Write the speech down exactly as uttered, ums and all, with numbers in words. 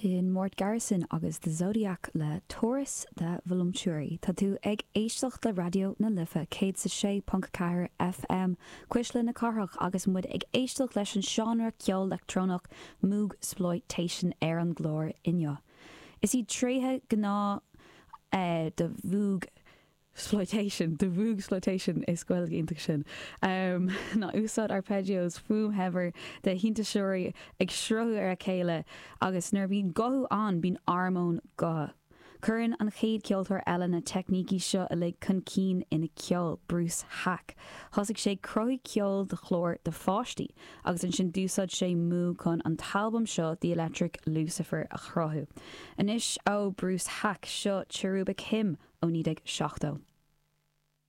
Sin Mort Garson agus The Zodiac le Taurus the Voluptuary. Tá tú ag éisteacht le Raidió na Life céad sa sé ponc ceathair FM Cuisle na Cathrach agus muid ag éisteacht leis an seánra ceol leictreonach Moogsploitation ar an gclár inniu. Is iad tréithe gná eh, de Mhoog exploitation de Moogsploitation is Gaeilge iontach sin um, ná úsáid arpeggios fuaim shaibhir de shintéiseoirí ag sruthú ar a chéile agus nuair bhíonn guthú ann bíonn armóin gutha. Cuireann an chéad ceoltóir eile na teicnící seo uilig chun cinn ina ceol Bruce Haack. Thosaigh sé cruthú ceol do chlár do pháistí, agus ansin d'úsáid sé Moog chun an t-albam seo The Electric Lucifer a chruthú. Anois ó Bruce Haack seo Cherubic Hymn ó naoi déag seachtó.